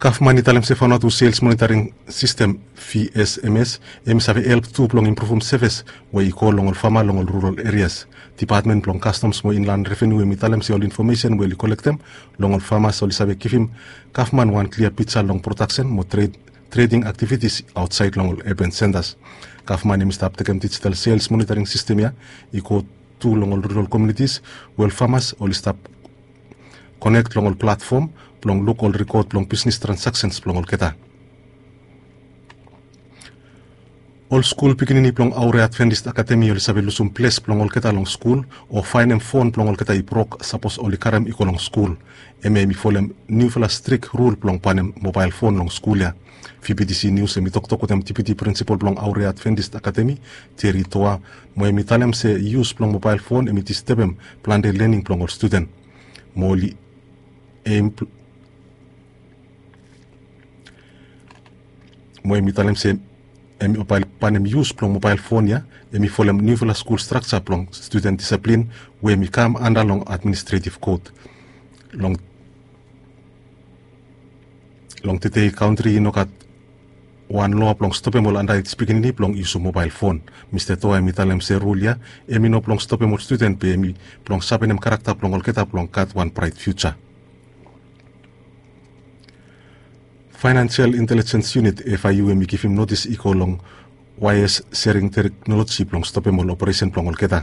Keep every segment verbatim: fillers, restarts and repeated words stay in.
Gavman i talem se Vanuatu Sales Monitoring System, V S M S, hem i save help tu blong impruvum sevis we i go long ol fama long ol rural erias. Dipatmen blong Kastoms mo Inlan Revenu hem i talem se ol infomesen we oli kolektem long ol famas oli save givim gavman wan klia pija long prodaksen mo treding aktivitis aotsaed long ol erban sentas. Gavman hem i stap tekem dijital sales monitoring sistem ya i go tu long ol rural komunitis we ol famas oli stap konek long ol platfom blong luk ol rikod blong bisnis transaksens blong olgeta. Ol skul pikinini blong Aure Adventist Akademi oli save lusum ples blong olgeta long skul o faenem fon blong olgeta i brok sapos oli karem i go long skul. Hemia hem i folem niufala strik rul blong banem mobael fon long skul ya. V B T C Nius hem i toktok wetem Deputi Prinsipol blong Aure Adventist Akademi, Jerry Toa, mo hem i talem se yus blong mobael fon hem i distebem plante lening blong ol studen. Mo oli hem mo hem i talem se hem i banem yus blong mobael fon ya hem i folem niufala skul strakja blong studen disaplin we hem i kam anda long administretiv kot. Long long tedei kantri i no gat wan loa blong stopem ol andaej pikinini blong yusum mobael fon. Mista Toa hem i talem se rul ya hem i no blong stopem ol studen be hem i blong sapenem karakta blong olgeta blong gat wan braet fiuja. Faenansial Intelijens Yunit, F I U, hem i givim notis i go long waes sering teknoloji blong stopem ol operesen blong olgeta.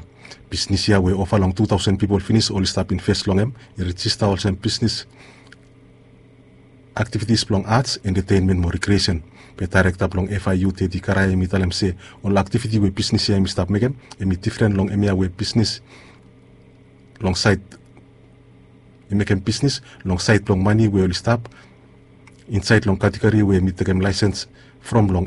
Bisnis ya we ova long tu taosen pipol finis oli stap inves long hem i rejista olsem bisnis aktivitis blong ats, entetenmen mo rikriesen. Be daerekta blong F I U, Teti Karae, hem i talem se ol aktiviti we bisnis ya hem i stap mekem hem i difren long hemia we bisnis long saed i mekem bisnis long saed blong mane we oli stap insaed long kategori we hem i tekem laesens from long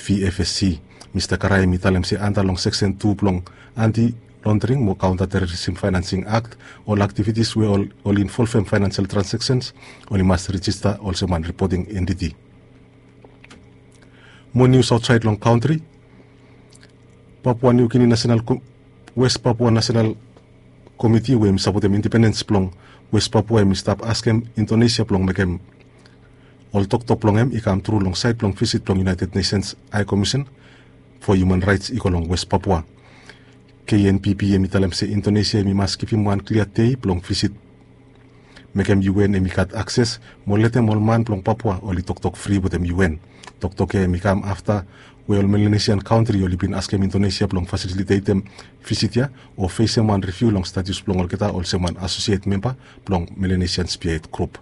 V F S C. Mista Karae hem i talem se anda long seksen tu blong Anti Londering mo Kaonta Terorisim Faenansing Akt, ol aktivitis we oli involvem faenansial transaksens oli mas rejista olsem wan ripoting entiti. Mo nius aotsaed long kantri. Papua Niu Gini Nasenal Wes Papua Nasenal Komiti we hem i sapotem independens blong Wes Papua hem i stap askem Indonesia blong mekem ol toktok blong hem i kamtru long saed blong visit blong United Nations High Commission for Human Rights i go long Wes Papua. K N P B hem i talem se Indonesia hem i mas givim wan klia dei blong visit mekem U N hem i gat akses mo letem ol man blong Papua oli toktok fri wetem U N. Toktok ya hem i kam afta we ol Melanesian kantri oli bin askem Indonesia blong fasilitetem visit ya o fesem wan riviu long status blong olgeta olsem wan asosiet memba blong Melanesian Spearhead Group.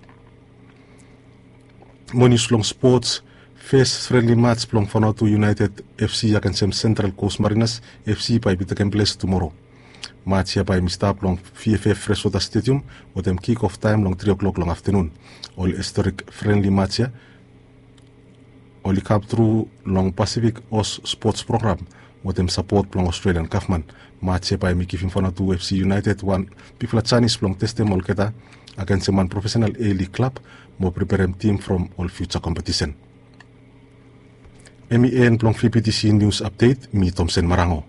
Mo nius blong spots. Fes frenli mats blong Vanuatu United F C agensem Central Coast Mariners F C bae i bin tekem ples tumoro. Mats ya bae hem i stap long V F F Freshwater Stadium wetem kik of taem long tri o'klok long aftenun. Ol historik frenli mats ya oli kamtru long Pasifik Os Spots Program wetem sapot blong Australian gavman. Mats ya bae hem i givim Vanuatu F C United wan bigfala janis blong testem olgeta agensem wan profesenal A-League klab mo preperem tim from ol fiuja kompetisen. Hem i en blong V B T C Nius Apdet, mi Tomsen Marango.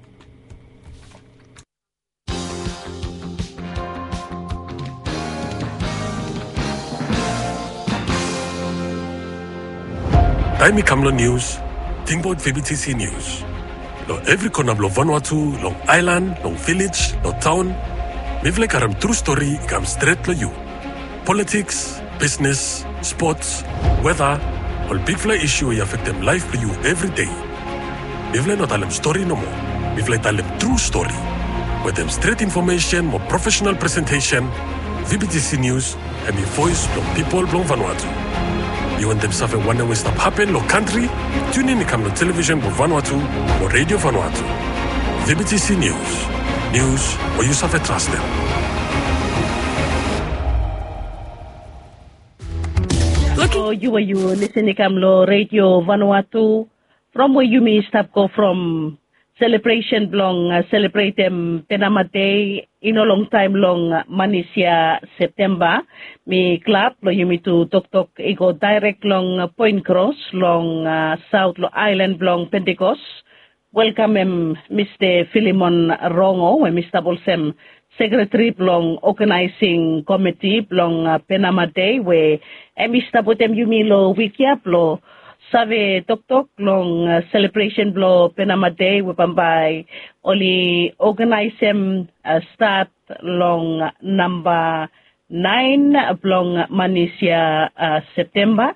Taem i kam long nius, tingbaot V B T C Nius. Long evri kona blong Vanuatu, long aelan, long vilej, long taon, mifala i karem tru stori i kam stret long yu. Politiks, bisnis, spots, weta, ol bigfala isu we i afektem laef blong yu evri dei. Mifala i no talem stori nomo. Mifala i talem tru stori. Wetem stret infomesen mo profesenal presentesen, V B T C Nius hem i voes blong pipol blong Vanuatu. Yu wantem save wanem we i stap hapen long kantri? Tiunin i kam long televisen blong Vanuatu o Redio Vanuatu. V B T C Nius. Nius we yu save trastem. Lucky. So yu we yu lisin i kam long Redio Vanuatu, from we yumi stap go from selebresen blong selebretem Penama Dei i no longtaem long manis ya, Septemba. Mi glad blong yumi tu toktok i go daerek long Poen Kros long saot long aelan blong Pentikos. Welkamem Mista Filimon Rongo we hem i stap olsem sekretari blong oganaesing komiti blong Penama Dei we em i stap wetem yumi long wik ya blong save toktok long selebresen blong Penama Dei we bambae oli oganaesem stat long namba naen blong manis ya Septemba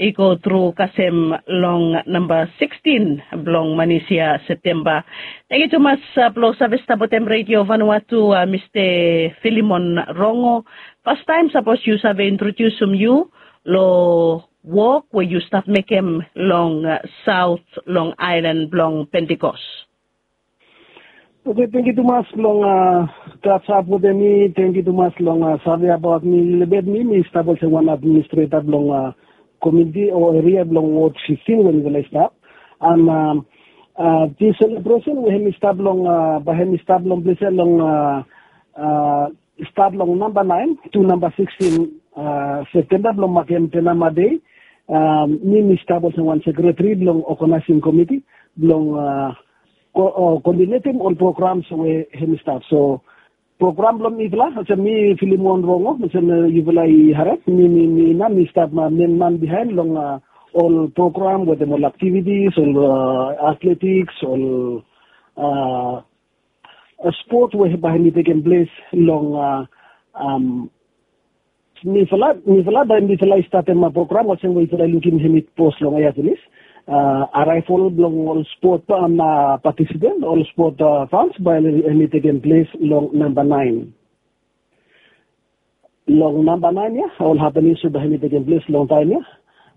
i go tru kasem long namba sikstin blong manis ya Septemba. Tangkiu tumas blong save stap wetem Redio Vanuatu, Mista Filimon Rongo. Fastaem sapos yu save introdiusim yu long wok we yu stap mekem long saot long aelan blong Pentikos. Oke, tangkiu tumas long katchap wetem mi. Tangkiu tumas long save abaot mi lelebet. Mi mi stap olsem wan administreta blong kominiti o eria blong wod sikstin we mifala i stap. An dis selebresen we hem i stap long bae hem i stap long ples ya long stat long namba naen tu namba sikstin Septemba blong makem Penama Dei. Mi mi stap olsem wan sekretari blong oganaesing komiti blong koodinetim ol programs we hem i stap. So program blong mifala olsem mi Filimon Rongo olsem yufala i harem, mi mi mi nao mi stap menman biaen long ol program wetem ol aktivitis, ol atletiks, ol spot we bae hem i tekem ples long mifala, mifala bae mifala i statem program olsem we yufala i lukim hem i pos long aea pinis. Araevol blong ol spot na patisipant, ol spot fans bae hem i tekem ples long namba naen. Long namba naen ya ol hapening so bae hem i tekem ples long taem ya.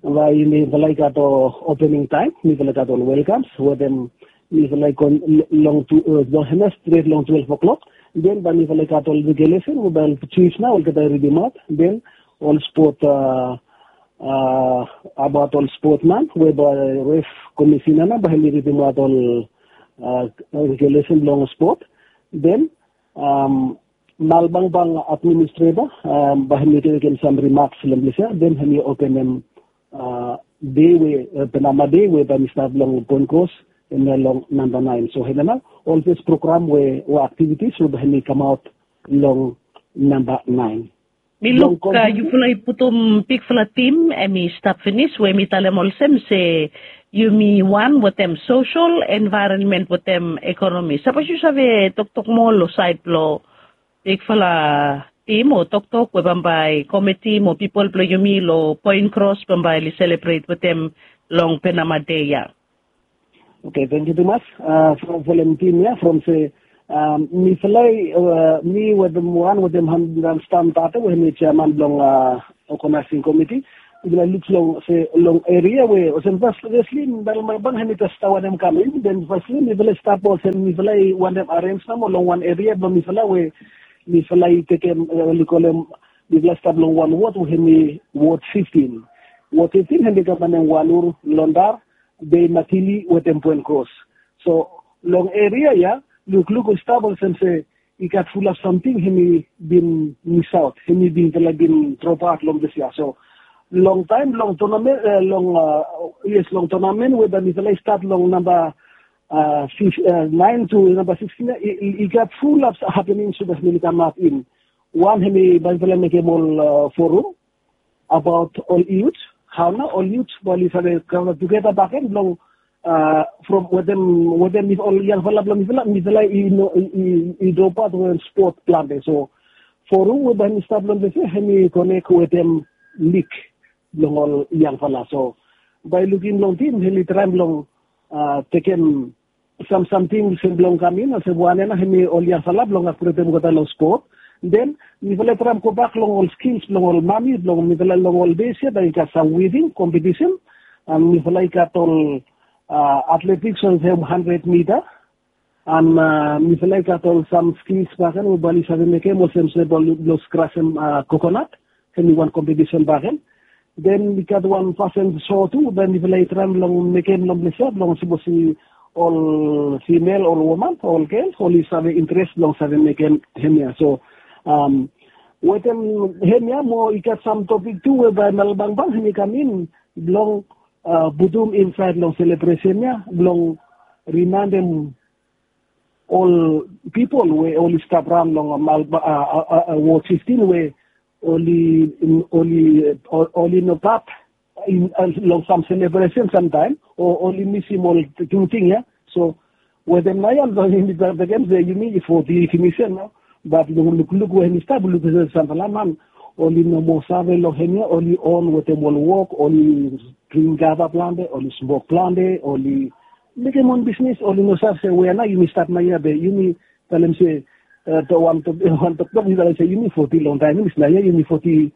Bae mifala i gat opening taem, mifala i gat ol welkams wetem mifala i go long tu long hem ya stret long twelef o'klok. Den bae mifala i gat ol regulesen we bae ol jis nao olgeta i ridimaot. Den ol spot abaot ol spotman we bae ref komisina nao bae hem i ridimaot ol regulesen blong spot. Den Malbangbang administreta bae hem i mekem sam rimaks long ples ya, den hem i openem dei we Penama Dei we bae hem i stat long Poen Kros, hemia long namba naen. So hemia nao ol fes program we o aktivitis we bae hem i kamaot long namba naen. Mi luk yufala i putum bigfala tim hem i stap finis we hem i talem olsem se yumi wan wetem sosel, envaeronmen wetem ekonomi. Sapos yu save toktok moa long saed blong bigfala tim o toktok we bambae komiti mo pipol blong yumi long Poen Kros bambae oli selebret wetem long Penama Dei ya. Oke, tangkiu tumas from folem tim ya from se mifala i mi wetem wan wetem Hamdan Stam Tate we hem i jeaman blong oganaesing komiti. Mifala i luk long se long eria we olsem fas fesli Malbangbang hem i jes stap wantem kam in, den fasli mifala i stap olsem mifala i wantem arens nomo long wan eria blong mifala we mifala i tekem oli kolem mifala i stap long wan wod we hem i wod fiftin. Wod fiftin hem i kam wantem Walur, Londar, Bei Matili wetem Poen Kros. So long eria ya lukluk i stap olsem se i gat fulap samting hem i bin misaot, hem i bin mifala i bin dropaot long ples ya. So long taem long tonamen, long yes, long tonamen we bae mifala i stat long namba naen tu namba sikstin ya, i gat fulap hapening so bae hem i kamap in. Wan hem i bae mifala i mekem ol forum abaot ol yut, hao nao ol yut bae oli save kam tugeta bakegen blong from wetem wetem ol yangfala blong mifala, mifala i no i dropaot long spot plante. So forum we bae hem i stap long ples ya hem i konek wetem lig blong ol yangfala. So bae lukim long tim hem i traem blong tekem sam samting olsem blong kam in olsem wan ya nao hem i ol yangfala blong aktivetem olgeta long spot. Den mifala i traem gobak long ol skils blong ol mami blong mifala long ol dei ya bae i gat sam wiving kompetisen. An mifala i gat ol atletiks olsem handred mita. An mifala i gat ol sam skils bakegen we bae oli save mekem olsem se blong skrasem kokonat. Hem i wan kompetisen bakegen. Den i gat wan fasin so tu bae mifala i traem long mekem long ples ya blong sapos i ol fimel, ol woman, ol gel oli save interes blong save mekem hemia. So wetem hemia mo i gat sam topik tu we bae Malbangbang hem i kam in blong putum insaed long selebresen ya blong rimaendem ol pipol we oli stap raon long wod fiftin we oli oli oli no pat long sam selebresen samtaem o oli misim ol tingting ya. So wetem nao ya long yumi bekem se yumi foti finis ya nao. Bat long lukluk we hemi stap luk se samfala man oli no moa save long hemia, oli on wetem ol wok, oli dring gava plante, oli smok plante, oli mekem on bisnis, oli no save se wea nao yumi stap nao ya be yumi talem se wan toktok mi talem se yumi foti long taem ya, mi sna ya yumi foti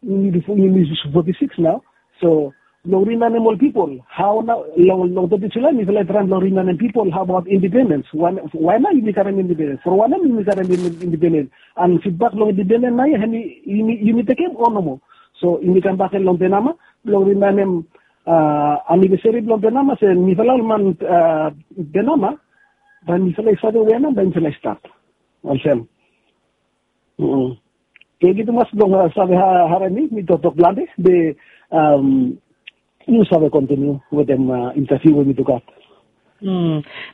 yumi foti siks nao. So long rimanem ol pipol hao nao long teti Julae mifala i traem long rimanem pipol hao abaot indipendens. Wae nao yumi karem indipendens, from wanem yumi karem indipendens? An fitbak long indipendens nao ya hemi yumi tekem o nomo? So yumi kambak gen long Penama blong rimanem anivesari blong Penama se mifala ol man Penama bae mifala i save wea nao bae mifala i stap. Olsem. Tangkiu tumas blong save harem mi, mi toktok plante be yu save kontiniu wetem intaviu we mi tu gat.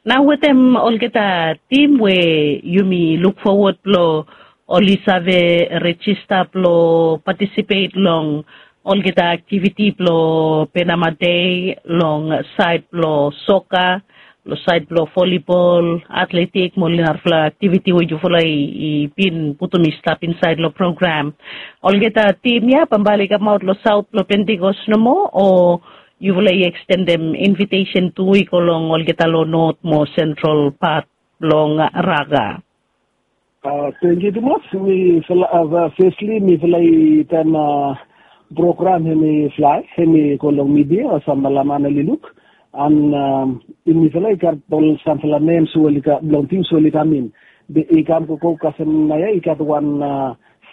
Nao wetem olgeta tim we yumi luk fowod blong oli save rejista blong patisipet long olgeta aktiviti blong Penama Dei long saed blong soka, long saed blong volibol, atletik mo ol narafala aktiviti we yufala i bin putum i stap insaed long program. Olgeta tim ya bambae oli kamaot long saot blong Pentikos nomo o yufala i ekstendem invitesen tu i go long olgeta long not mo sentral pat blong Raga? Tangkiu tumas. Mifala fesli mifala i taem program hemi flae hemi go long midia o samfala man oli luk. An mifala i gat ol samfala nems we oli gat blong tims we oli kam in. Be i kam gogo kasem nao ya i gat wan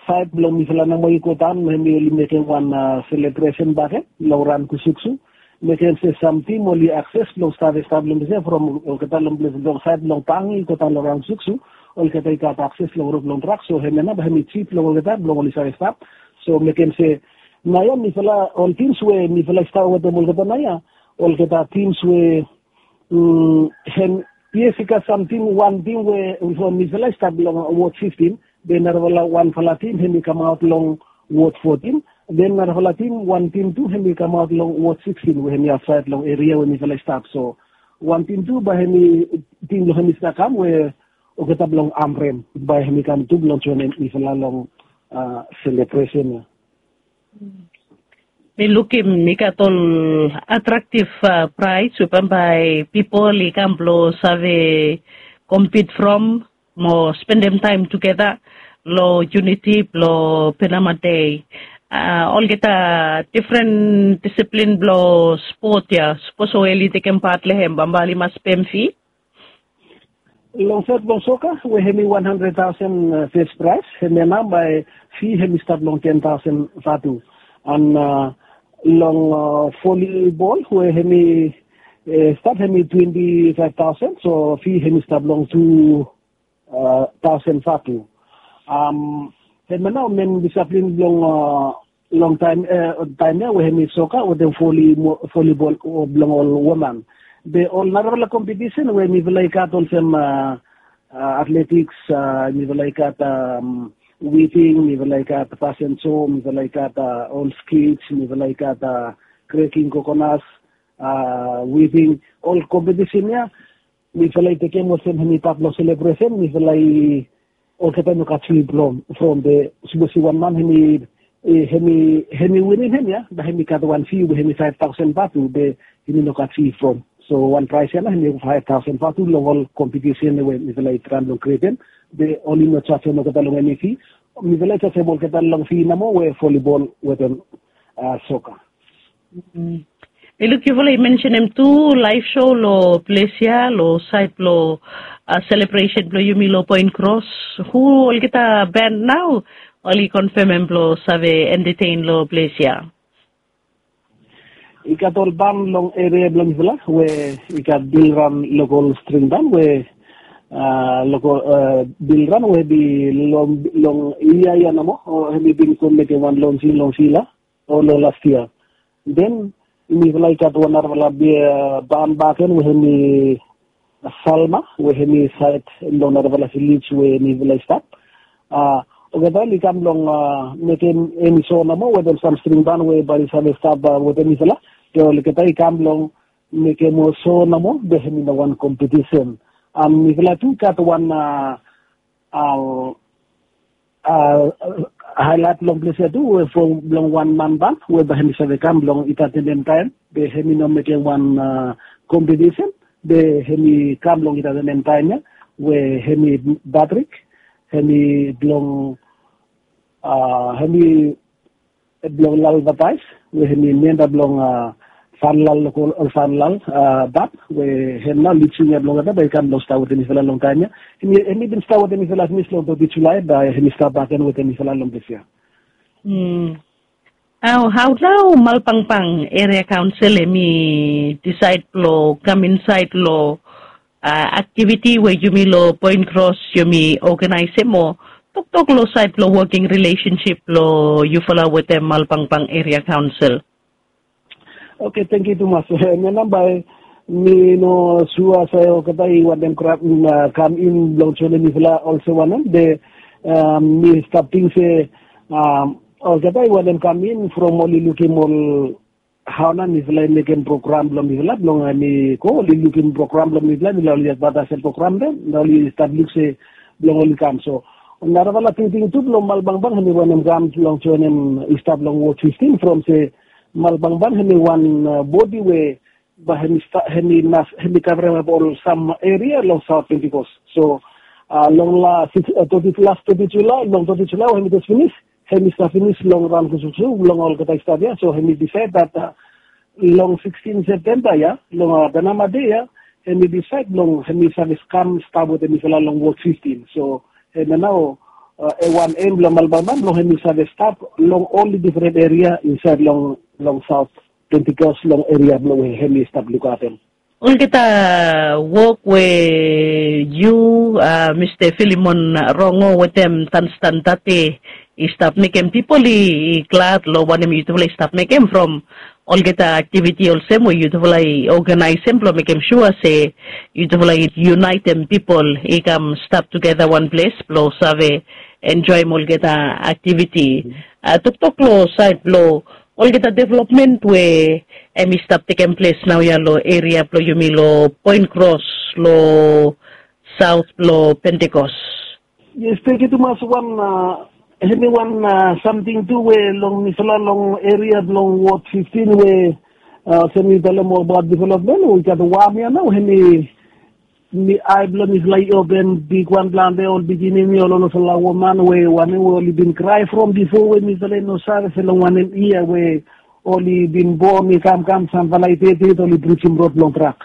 saed blong mifala nomo i godaon hemi oli mekem wan selebresen bakegen long raon Kusuksu. Mekem se sam tim oli akses blong save stap long ples ya from olgeta long ples long saed blong Pangi i godaon long raon Kusuksu. Olgeta i gat akses long rod blong drak, so hemia nao bae hemi jip blong olgeta blong oli save stap. So mekem se nao ya mifala ol tims we mifala i stap wetem olgeta nao ya, olgeta tims we hem yes i gat sam tim, wan tim we mifala i stap long wod fiftin, be narafala wanfala tim hemi kamaot long wod fotin, den narafala tim, wan tim tu hemi kamaot long wod siksin we hemi afsaed long eria we mifala i stap. So wan tim tu bae hemi tim blong hemi stap kam we olgeta blong Amrem bae hemi kam tu blong joenem mifala long selebresen ya. Mi lukim i gat ol atraktiv praes we bambae pipol i kam blong save kompit from mo spendem taem tugeta long yuniti blong Penama Dei. Olgeta difren disiplin blong spot ya, sapos oli tekem pat long hem bambae oli mas pem fi? Long saed blong soka we hemi wan handred taosen fes praes, hemia nao bae fi hemi stap long ten taosen vatu. An long volibol we hemi stap hemi twenti faef taosen, so fi hemi stap long tu taosen vatu. Hemia nao men disiplin blong long taem ya we hemi soka wetem volibol blong ol woman. Be ol narafala kompetisen we mifala i gat olsem atletiks, mifala i gat wiving, mifala i gat fasen so, mifala i gat ol skits, mifala i gat kreking kokonas, wiving, ol kompetisen ya mifala i tekem olsem hemi pat blong selebresen, mifala i olgeta i no gat fi from be sapos i wan man hemi hemi winim hemia bae hemi gat wan fi we hemi faef taosen vatu be hemi no gat fi from. So wan praes ya nao hemi faef taosen vatu long ol kompetisen we mifala i traem blong krietem. Be oli no jajem olgeta long eni fi, mifala i jajem olgeta long fi nomo we volibol wetem soka. Mi luk yufala i mensenem tu laef so long ples ya long saed blong selebresen blong yumi long Poen Kros. Hu olgeta band nao oli konfemem blong save entaten long ples ya? I gat ol band long eria blong yufala we i gat Bilran Lokol String Band we Lokol Bilran we hemi long yia ya nomo o hemi bin go mekem wan lonsing long Sila o long las yia. Den mifala i gat wan narafala band bakegen we hemi Salma we hemi sait long narafala vilej we mifala i stap. Olgeta oli kam long mekim eni so nomo wetem sam string ban we bae oli save stap wetem mifala. Be olgeta i kam long mekim so nomo be hemi no wan kompetisen. Mifala tu i gat wan haelat long ples ya tu we from long wan man ban we bae hemi save kam long i gat enem taem be hemi no mekem wan kompetisen be hemi kam long i gat enem taem ya we hemi Patrik, hemi blong hemi blong Lalvataes we hemi memba blong Fanlal, lokol Fanlal Bab we hem nao lid singer blong olgeta bae i kam long stap wetem mifala long taem ya. Hemi bin stap wetem mifala finis long toti Julae bae hemi stap bakegen wetem mifala long ples ya. Hao nao Malbangbang Eria Kaonsel hemi disaed blong kam insaed long aktiviti we yumi long Poen Kros yumi oganaesem o toktok long saed blong woking rilesensip blong yufala wetem Malbangbang Eria Kaonsel? Oke, tangkiu tumas. Hemia nao bae mi no sua se olgeta i wantem kam in blong joenem mifala olsem wanem be mi stap ting se olgeta i wantem kam in from oli lukim ol hao nao mifala i mekem program blong mifala blong hemi go oli lukim program blong mifala mifala oli advataesem program de nao oli stap luk se blong oli kam. So narafala tingting tu blong Malbangbang hemi wantem kam long joenem i stap long wod fiftin from se Malbangbang hemi wan bodi we bae hemi kavremap ol sam eria long Saot Pentikos. So long las toti Julae we hemi jes finis hemi stap finis long raon gusugusu blong olgeta i stap ya. So hemi disaed dat long sikstin Septemba ya long Benama Dei ya hemi disaed blong hemi save kam stap wetem mifala long wod fiftin. So hemia nao wan em blong Malbangbang blong hemi save stap long ol difren eria insaed long Saot Pentikos long eria blong we hemi stap lukaotem. Olgeta wok we yu Mista Filimon Rongo wetem Tanstan Tate i stap mekem pipol i glad long wanem yutufala i stap mekem from olgeta aktiviti olsem we yutufala i oganaesem blong mekem sua se yutufala i yunaetem pipol i kam stap tugeta wan ples blong save enjoem olgeta aktiviti. Toktok long saed blong olgeta developmen we hemi stap tekem ples naoia long eria blong yumi long Poen Kros long saot blong Pentikos. Yes, tangkiu tumas. Wan hemi wan samting tu we long mifala long eria blong wod fiftin we olsem mi talem abaot developmen we i gat wam ya nao hemi mi ae blong mifala i open bigwan plante ol pikinini ol olfala woman we wanem we oli bin krae from bifo we mifala i no save se long wanem yia we oli bin bon i kamkam samfala i ded oli brijim rod blong trak.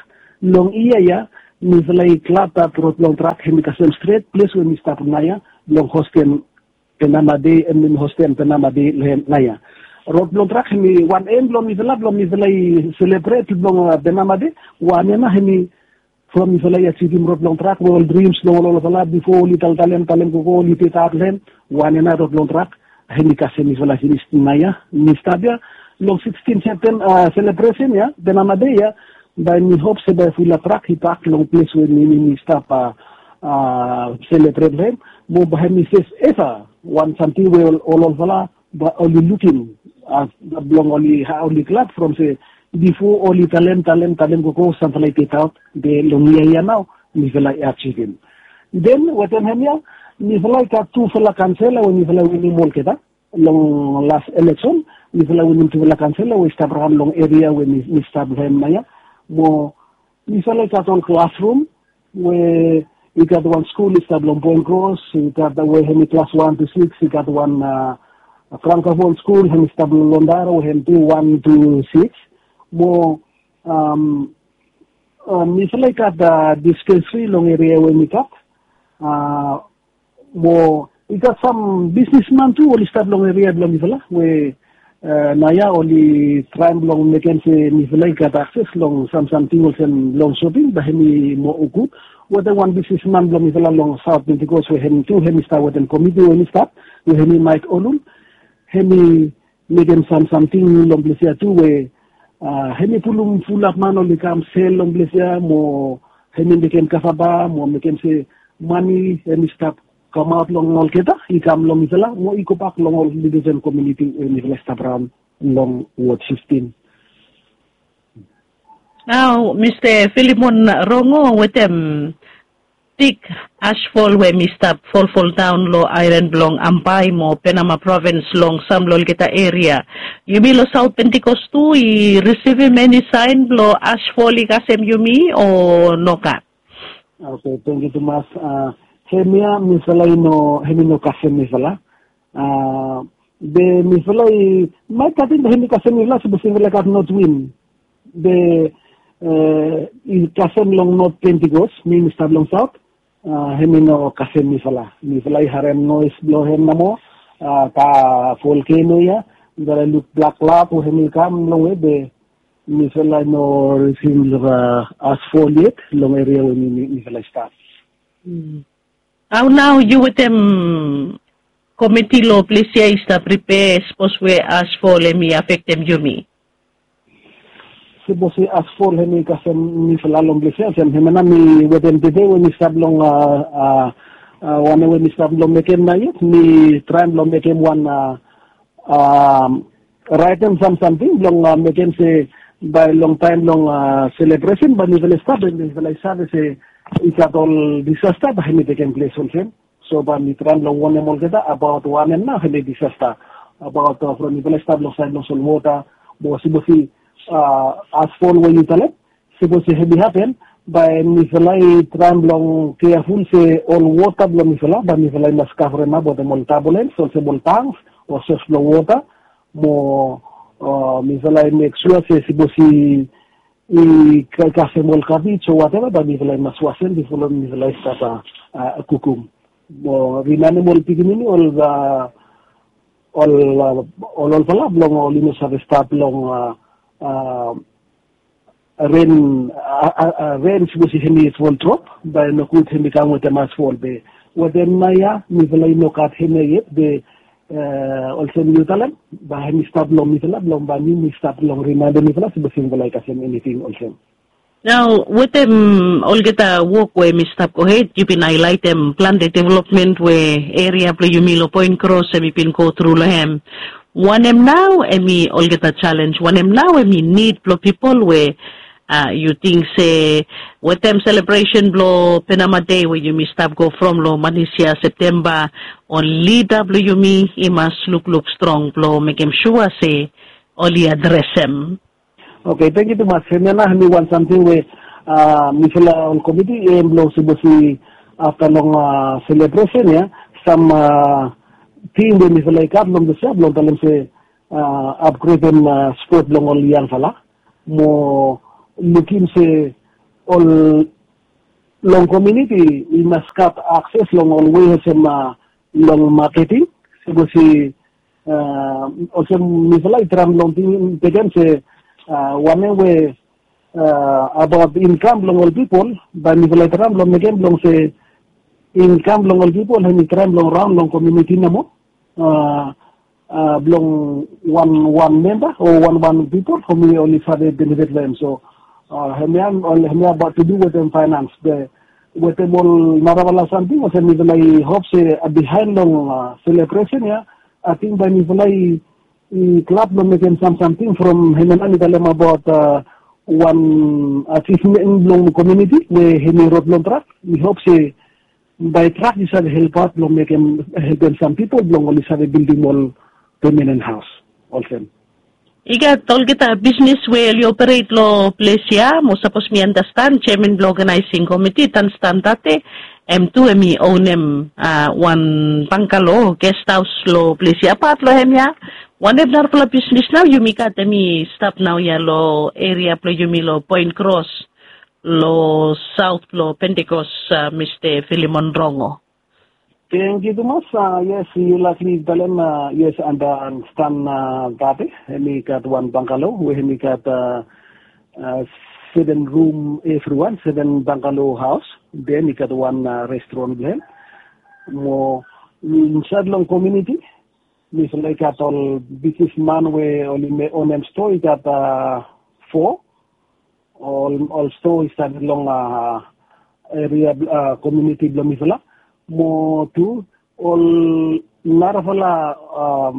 Long yia ya mifala i glad dat rod blong trak hemi kasem stret ples we mi stap naoia long hostem Benama Dei em mi hostem Benama Dei long hem naoia. Rod blong trak hemi wan em blong mifala blong mifala i selebret blong Benama Dei. Wan ya nao hemi from mifala i ajivim rod blong trak we ol drims blong ol olfala bifo oli taltalem talem gogo oli pedaot long hem. Wan ya nao rod blong trak hemi kasem mifala finis naoia mi stap ya long sikstin Septemba selebresen ya Benama Dei ya. Bae mi hop se bae fulap trak i pak long ples we mi mi stap selebret long hem mo bae hemi ses eva wan samting we ol olfala bae oli lukim blong oli hao oli glad from se bifo oli talem talem talem gogo samfala i pedaot be long yia ya nao mifala i ajivim. Den wetem hemia mifala i gat tufala kansela we mifala i winim olgeta long las eleksen. Mifala i winim tufala kansela we i stap raon long eria we mi stap long hem naoia. Mo mifala i gat ol klasrum we i gat wan skul i stap long Poen Kros i gat we hemi klas wan tu siks i gat wan frankafon skul hemi stap long Londara we hem tu wan tu siks. Mo mifala i gat dispensri long eria we mi gat. Mo i gat sam bisnisman tu oli stap long eria blong mifala we naoia oli traem blong mekem se mifala i gat akses long samsamting olsem long soping bae hemi moa gud. Wetem wan bisnisman blong mifala long Saot Pentikos we hem tu hemi stap wetem komiti we hemi stap we hemi Maek Olul. Hemi mekem samsamting long ples ya tu we hemi pulum fulap man oli kam sel long ples ya mo hem i mekem kasaba mo mekem se mane hem i stap kamaot long olgeta i kam long mifala mo i gobak long ol indijen komuniti we mifala i stap raon long wod fiftin. Nao Mista Filimon Rongo wetem big asfol we mi stap folfoldaon long aelan blong Ambae mo Penama provins long sam long olgeta eria. Yumi long Saot Pentikos tu i risivim eni saen blong asfol i kasem yumi o nogat? Oke, tangkiu tumas. Hemia mifala i no, hem i no kasem mifala. Be mifala i maet katin be hem i kasem mifala sapos mifala i gat not win. Be i kasem long not Pentikos, mi mi stap long saot. Hem i no kasem mifala. Mifala i harem noes blong hem nomo. Ka volkeno ya, mifala i luk blak klap we hem i kam longwe be mifala i no risivim long asfol yet long eria we mifala i stap. Hao nao yu wetem komiti long ples ya i stap pripea sapos we asfol hem i afektem yumi? Sapos we asfol hem i kasem mifala long ples ya olsem hemia nao mi wetem tede we mi stap long wanem we mi stap long mekem nao yet mi traem long mekem wan raetem sam samting blong mekem se bae long taem blong selebresen bae mifala i stap be mifala i save se i gat ol disasta bae hem i tekem ples olsem. So bae mi traem long wonem olgeta abaot wanem nao hem i disasta abaot from mifala i stap long saed long solwota mo sapos i asfol we yu talem sapos i hem i hapen bae mifala i traem long keaful se ol wota blong mifala bae mifala i mas kavremap wetem ol tabulens olsem ol tanks o sos blong wota mo mifala i mek sua se sapos i kasem ol kabij o wateva bae mifala i mas wasem bifo long mifala i stap kukum mo rimaenem ol pikinini ol ol olfala blong oli no save stap long ren ren sapos i hem i fol drop bae nogud hem i kam wetem asfol be wetem nao ya mifala i no gat hemia yet be olsem yu talem bae hem i stap long mifala blong bae mi mi stap long rimaendem mifala sapos mifala i kasem eniting olsem. Nao wetem olgeta wok we hem i stap gohed yu bin haelaetem plante developmen we eria blong yumi long Poen Kros hem i bin gotru long hem. Wanem nao hem i olgeta jalenj wanem nao hem i nid blong pipol we yu ting se wetem selebresen blong Penama Dei we yumi stap go from long manis ya Septemba ol lida blong yumi i mas lukluk strong blong mekem sua se oli adresem. Oke, tangkiu tumas. Hemia nao hem i wan samting we mifala ol komiti i em blong sapos i afta long selebresen ya sam tim we mifala i gat long disea blong talem se apgredem spot blong ol yangfala mo lukim se ol long komuniti i mas gat akses long ol wei olsem long maketing sapos i olsem mifala i traem long tingting tekem se wanem we abaot inkam blong ol pipol bae mifala i traem long mekem blong se inkam blong ol pipol hem i traem long raon long komuniti nomo blong wanwan memba o wanwan pipol hem i oli save benefit long hem so hemia ol hemia abaot tu du wetem faenans be wetem ol narafala samting olsem mifala i hop se bihaen long selebresen ya ating bae mifala i klap long mekem sam samting from hemia nao mi talem abaot wan ajivmen blong komuniti we hem i rod long trak mi hop se bae trak i save helpaot blong mekem helpem sam pipol blong oli save bildim ol pemanen haos olsem. I gat olgeta bisnis we oli operet long ples ya mo sapos mi andastan jeaman blong oganaesing komiti tanstan tate hem tu hem i onem wan bangkalo gesthaos long ples ya apat long hem ya. Wanem narafala bisnis nao yumi gat hem i stap naoia long eria blong yumi long Poen Kros long saot blong Pentikos, Mista Filimon Rongo? Tangkiu tumas. Yes, yu laik mi talem yes, andanstan tate hem i gat wan bangkalo we hem i gat seven rum evriwan, seven bangkalo haos. Den i gat wan restoran blong hem mo insaed long komuniti mifala i gat ol bisnisman we oli onem stoa i gat fo. Ol stoa i stap long eria komuniti blong mifala. Mo tu ol narafala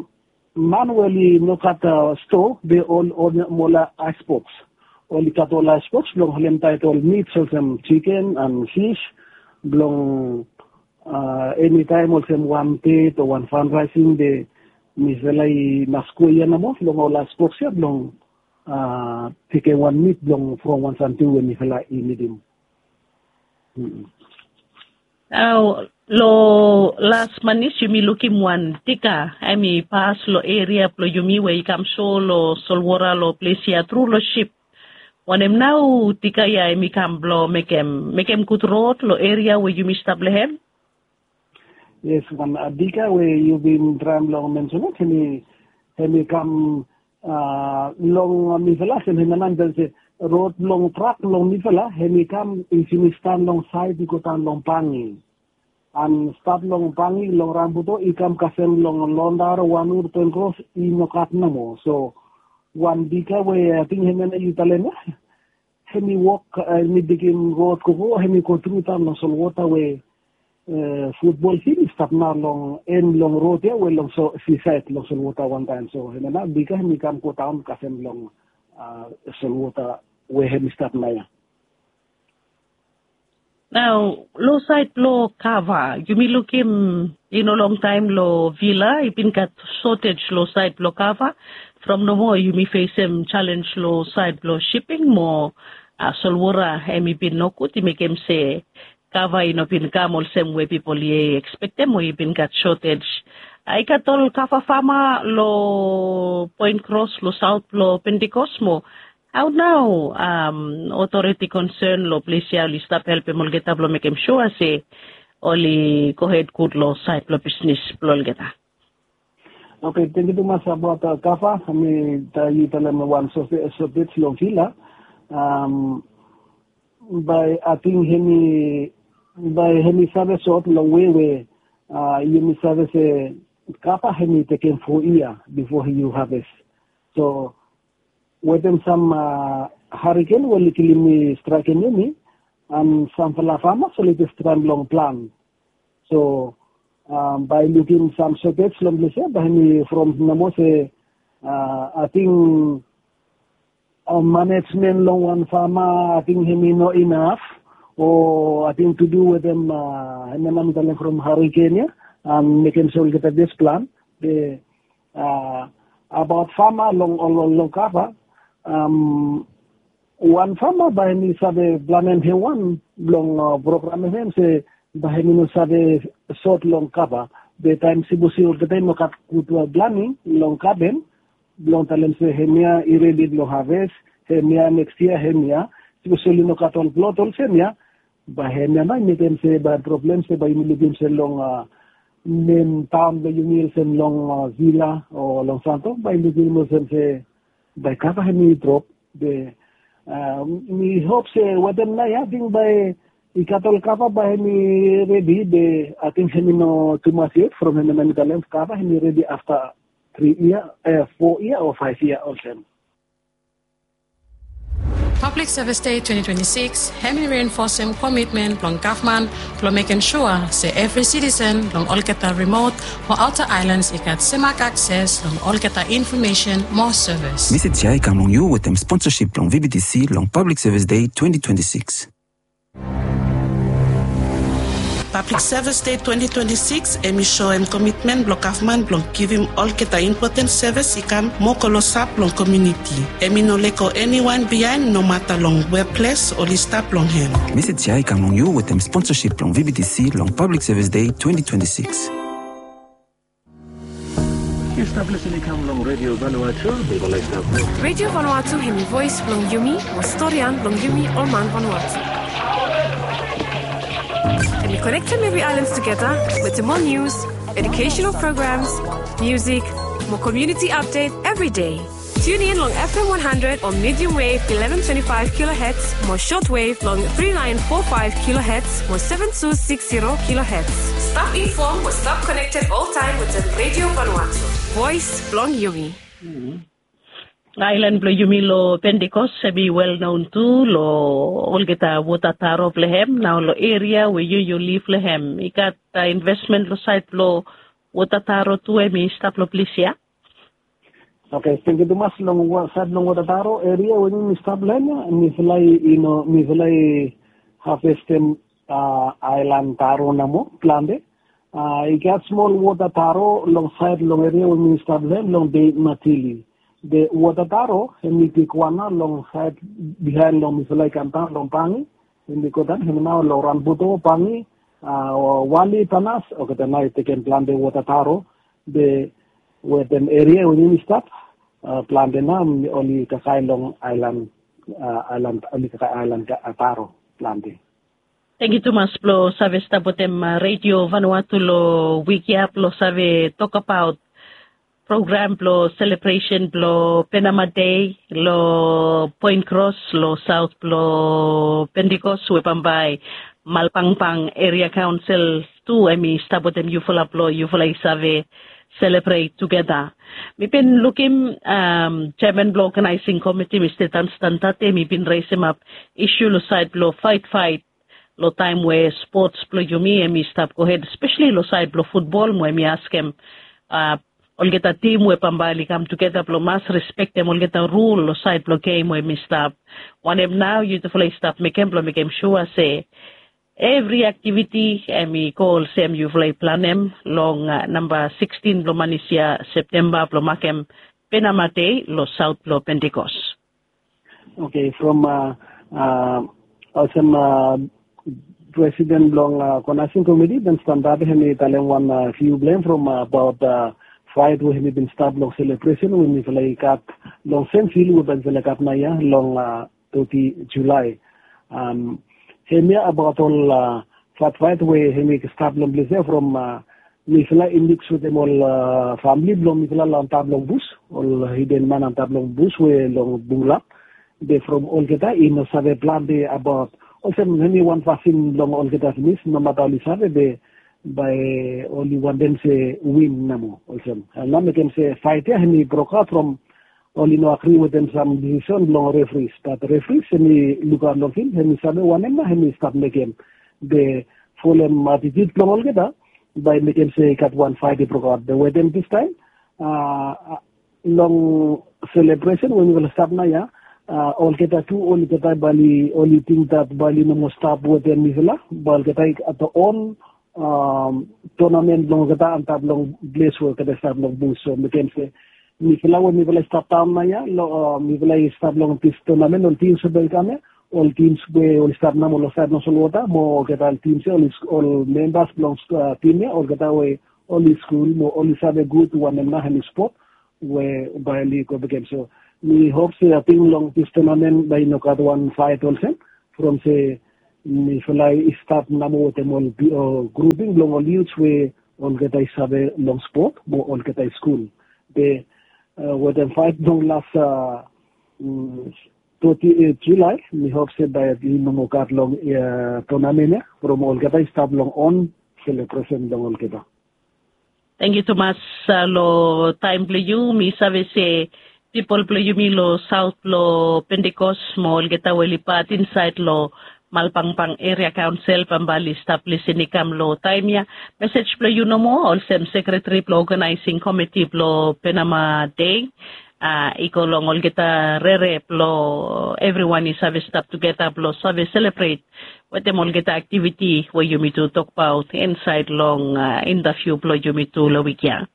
man we oli no gat stoa, be ol oli ol aisboks. Oli gat ol aisboks blong holem taet ol mits olsem jiken an fis blong enitaem olsem wan ded o wan fandraising, be mifala i mas go ia nomo long ol aisboks ia blong tekem wan mit blong from wan samting we mifala i nidim. Nao long las manis yumi lukim wan dika hemi pas long eria blong yumi we i kam so long solwota long ples ia tru long sip. Wanem nao dika ia hemi kam blong mekem mekem gud rod long eria we yumi stap long hem? Yes, wan dika we yu bin traem long mensenem hemi hemi kam long mifala olsem hemi nao mi talem se rod blong trak blong mifala hemi kam i finis daon long saed i go daon long Bangi. An stat long Bangi long Rambuto i kam kasem long Londar, Wanur, Poinkros i no gat nomo. So wan dika we ating hemi nao yu talem ia hemi wok, hemi digim rod gogo hemi go tru daon long solwota we futbol fil i stap nao long en blong rod ia we long sisaed long solwota wantaem. So hemia nao bika hemi kam go daon kasem long solwota we hemi stap nao ia. Nao long saed blong kava yumi lukim i no longtaem long Vila i bin gat sotej long saed blong kava. From nomo yumi fesem jalenj long saed blong siping mo solwota hemi bin nogud i mekem se kava i no bin kam olsem we pipol i ekspektem o i bin gat sotej. I gat ol kava fama long Poinkros long saot blong Pentikos mo hao nao otoriti konsen long ples ia oli stap helpem olgeta blong mekem sua se oli gohed gud long saed blong bisnis blong olgeta? Oke, tangkiu tumas abaot kava. Mi yu talem wan sotej long Vila. Bae ating hemi bae hemi save sot long we we yumi save se kava hemi tekem fo yia bifo yu haves. So wetem sam hariken we oli kilim i straekem yumi an samfala famas oli jes traem long plan. So bae lukim sam sotej long ples ia bae hemi from nomo se ating manejmen long wan fama ating hemi no inaf o ating tu du wetem hemia nao mi talem from hariken ia an mekem se olgeta jes plan. Be abaot fama long ol long kava, wan fama bae hemi save planem hem wan blong programem hem se bae hemi no save sot long kava. Be taem sipos i olgeta i no gat gud planing long gaden blong talem se hemia i redi blong haves, hemia neks yia hemia, sipos oli no gat ol plot olsem ia, bae hemia nao i mekem se bae problem se bae yumi lukim se long nem taon blong yumi olsem long Vila o long Santo bae lukim olsem se bae kava hemi drop. Be mi hop se wetem nao ia ating bae i gat ol kava bae hemi redi be ating hemi no tumas yet from hemia nao mi talem kava hemi redi afta tri yia, fo yia o faef yia olsem. Public Service Day twenty twenty-six hemi reenfosem komitmen blong gavman blong mekem sua se evri sitisen long olgeta rimot o aota aelans i gat semak akses long olgeta infomesen mo sevis. Mesej ia i kam long yu wetem sponsasip blong V B T C long Public Service Day twenty twenty-six. Public Service Day twenty twenty-six hemi soem komitmen blong gavman blong givim olgeta impoten sevis i kam mo klosap long komuniti. Hemi no lego eniwan biaen nomata long weples oli stap long hem. Mesej ia i kam long yu wetem sponsasip blong V B T C long Public Service Day twenty twenty-six. Yu stap lisin i kam long Redio Vanuatu. Mi go laik stap. Redio Vanuatu hemi voes blong yumi mo storian blong yumi ol man Vanuatu. Hemi konektem evri aelan tugeta wetem ol nius, edukesenal programs, musik mo komuniti apdet evri dei. Tune in long F M one hundred o medium wave eleven twenty-five kilohertz mo shortwave long three nine four five kilohertz mo seven two six zero kilohertz. Stap infom mo stap konekted oltaem wetem Redio Vanuatu. Voes blong yumi. Aelan blong yumi long Pentikos hem i wel non tu long olgeta wota taro blong hem. Nao long eria we yu yu liv long hem, i gat investmen long sait blong wota taro tu hem i stap long ples ya? Oke, tangkiu tumas. Long sait blong wota taro eria we mi stap long hem ya, mifala i no mifala i havestem aelan taro nomo plante. I gat smol wota taro long sait long eria we mi stap long hem long de matili. De wota taro hem i bigwan nao long sait bihaen long mifala i kamdaon long Bangi. Hem i godaon hem nao long Ranbuto, Bangi, wali, Tanas. Olgeta nao i tekem plante wota taro. De wetem eria we mi stap plante nao oli kakae long aelan, aelan oli kakae aelan taro plante. Tangkiu tumas blong save stap wetem Redio Vanuatu long wik ya blong save tokbaot program blong selebresen blong Penama Dei long Poen Kros long saot blong Pentikos we bambae Malbangbang Eria Kaonsel tu hem i stap wetem yufala blong yufala i save selebret tugeta. Mi bin lukim jeman blong oganaesing komiti Mista Danstan Tate hem i bin resemap isu long sait blong faetfaet long taem we spots blong yumi hem i stap gohed, spesali long sait blong futbol, mo hem i askem olgeta tim we bambae oli kam tugeta blong mas respektem olgeta rul long sait blong gem we hem i stap. Wanem nao yutufala i stap mekem blong mekem sua se evri aktiviti hem i go olsem yufala i planem long namba sikstin blong manis ya, Septemba, blong makem Penama Dei long saot blong Pentikos. Oke, from olsem presiden blong oganaesing komiti Danstan Tate hem i talem wan viu blong hem from abaot faet we hem i bin stap long selebresen we mifala i gat long Senvil we bae mifala i gat naoia long toti Julae. Hemia abaot ol faetfaet we hem i stap long ples ya from mifala i miks wetem ol famili blong mifala long antap long bus, ol hiden man antap long bus we long Bungla. Be from olgeta i no save plante abaot olsem hemi wan fasin blong olgeta finis, nomata oli save be bae oli wantem se win nomo olsem. Nao mekem se faet ya hemi brokaot from oli no agri wetem sam disisen blong referees. Bat referees hemi lukaot long fil, hemi save wanem nao hemi stap mekem. Be folem atitiut blong olgeta bae mekem se i gat wan faet i brokaot. Be wetem distaem long selebresen we mifala stap naoia, olgeta tu olgeta bae oli tingting bat bae oli no moa stap wetem mifala, bae olgeta i gat on tonamen blong olgeta antap long ples we olgeta i stap long bus. So mekem se mifala we mifala i stap daon naoia, mifala i stap long dis tonamen, ol tims we bae i kam ya, ol tims we oli stap nomo long saed long solwota mo olgeta ol tims ya, ol membas blong tim ya, olgeta we oli skul mo oli save gud wanem nao hemi spot we bae oli go bekem. So mi hop se ating long dis tonamen bae i no gat wan faet olsem, from se mifala i stap nomo wetem ol gruping blong ol yuts we olgeta i save long spot mo olgeta i skul. Be wetem faet blong las toti Julae, mi hop se bae i no moa gat long tonamen ya from olgeta i stap long on selebresen blong olgeta. Tangkiu tumas long taem blong yu. Mi save se pipol blong yumi long saot blong Pentikos mo olgeta we oli pat insaed long Malbangbang Eria Kaonsel bambae oli stap lisin i kam long taem ya. Mesej blong yu nomo olsem sekreteri blong oganaesing komiti blong Penama Dei i go long olgeta rere blong evriwan i save stap tugeta blong save selebret wetem olgeta aktiviti we yumi tu tokbaot insaed long intaviu blong yumi tu long wik ya.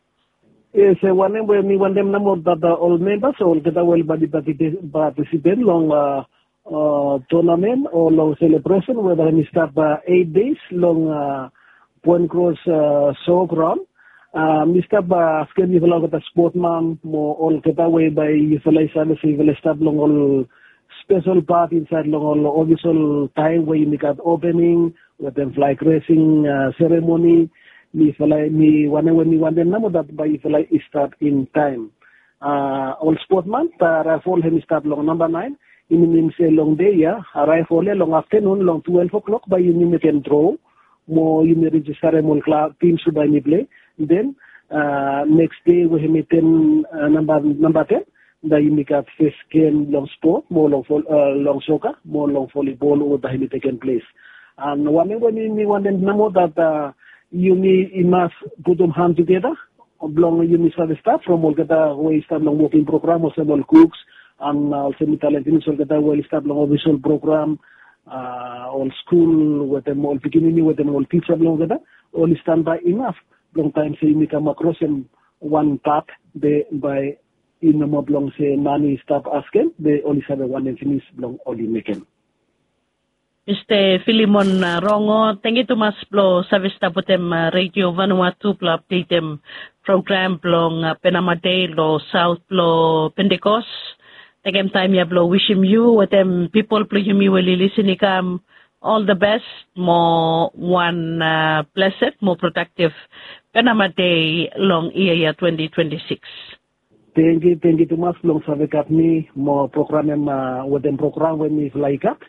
Yes, wanem we mi wantem nomo dat ol membas o olgeta we oli bae oli patisipet long tonamen o long selebresen we bae hemi stap eit deis long Poen Kros so graon. Mi stap askem yufala olgeta spotman mo olgeta we bae yufala i save se yufala i stap long ol spesel pat insaed long ol ofisel taem we yumi gat opening wetem flag resing seremoni. Mifala mi wanem we mi wantem nomo dat bae yufala i stap in taem. Ol spotman, raefol hemi stap long namba naen. I minim se long dei ya, raefol ya long aftenun long twelef klok bae yumi mekem dro mo yumi rejistarem ol tims we bae yumi pilei. Den neks dei we hemi ten, namba ten, Da yumi gat fes gem long spot mo long soka mo long volibol ol da yumi tekem ples. An wanem we mi wantem namo dat yumi i mas putum han tugeta blong yumi save stap from olgeta we i stap long woking program olsem ol kuks an olsem mi talem pinis olgeta we oli stap long ofisol program, ol skul wetem ol pikinini wetem ol tisa blong olgeta oli stanbae inaf blong taem se yumi kam akros em wan pat be bae i no moa blong se mani i stap askem be oli save wanem pinis blong oli mekem. Mista Filimon Rongo, tangkiu tumas blong save stap wetem Redio Vanuatu blong apdetem program blong Penama Dei long saot blong Pentekos. Tekem taem ya blong wisim yu wetem pipol blong yumi we oli lisin i kam ol the best mo wan blesed mo prodaktif Penama Dei long yia ya twenti twenti sikis. Tengkiu, tengkiu tumas blong save gat mi mo program em wetem program we mifala i gat.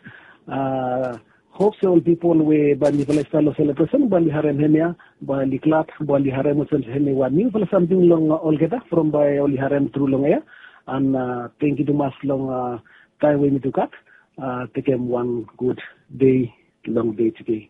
Hop se ol pipol we bae mifala i stap long selebresen bae oli harem hemia, bae oli glad, bae oli harem olsem hemi wan niufala samting long olgeta from bae oli harem tru long ea. An tengkiu tumas long taem we mi tu gat. Tekem wan gud dei long dei tede.